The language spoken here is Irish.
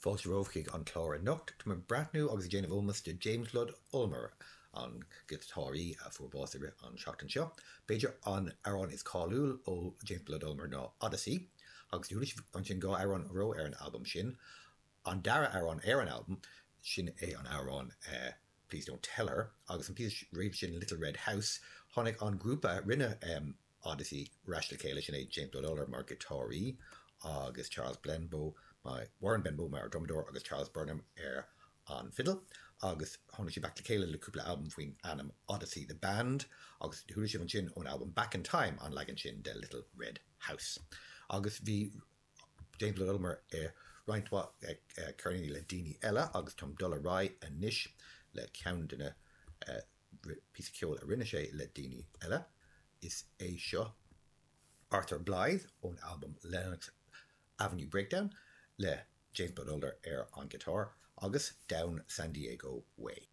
Fáilte romhaibh chuig an clár anocht. Tá mé ag breathnú agus ag déanamh ómós do James Blood Ulmer, an giotáraí a fuair bás i rith an seachtain seo. B'fhéidir an amhrán is cáiliúil ó James Blood Ulmer ná Odyssey, agus chuala sibh ansin 2 amhrán ó ar an albam sin. An dara amhrán ar an albam, sin é an amhrán Please Don't Tell Her, agus an píosa roimh sin Little Red House. Tháinig an grúpa a rinne Odyssey ar ais le chéile, sin é James Blood Ulmer mar ghiotáraí agus Charles Benbow, Warren Benbow mar dhrumadóir agus Charles Burnham ar an bhfidil agus tháinig siad back le chéile le cúpla albam faoin ainm Odyssey The Band agus chuala sibh ansin ón albam Back in Time an leagan sin de Little Red House. Agus bhí James Blood Ulmer i roinnt mhaith ceirníní le daoine eile agus táim dul ar aghaidh anois le ceann de na píosa ceoil a rinne sé le daoine eile. Is é seo Arthur Blythe ón albam Lenox Avenue Breakdown le James Blood Ulmer ar an ghiotár agus Down San Diego Way.